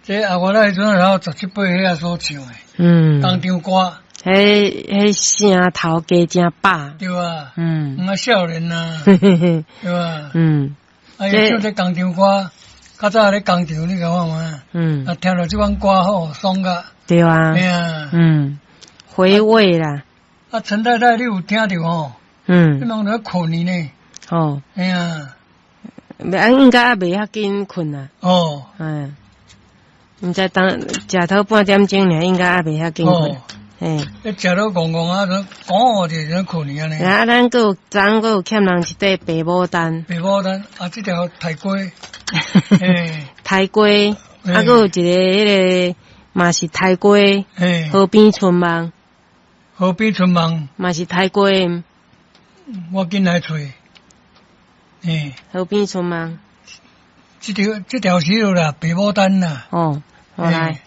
這啊，我那彼陣然後十七八歲所唱的，工廠歌。彼彼聲頭加誠飽。對啊。啊，少年啊，對吧？啊，伊唱這工廠歌，較早咧工廠，你感覺無？啊，聽著這款歌吼，爽甲。對啊。嘿啊。回味啦。啊，陳太太，你有聽著吼？你攏咧睏去呢？哦。嘿啊。啊，應該猶袂遐緊睏啊。毋知當食透半點鐘爾，應該猶袂遐緊睏。嘿。你食到戇戇啊，講就咧睏去按呢。啊，咱閣有昨昏閣有欠人一塊白牡丹。白牡丹啊，這條刣雞。嘿。刣雞，啊，閣有一个彼个嘛是刣雞。河邊春夢。河邊春夢。嘛是刣雞。我緊來揣。嘿。河邊春夢。這條這條是啦，白牡丹啦。哦，好來。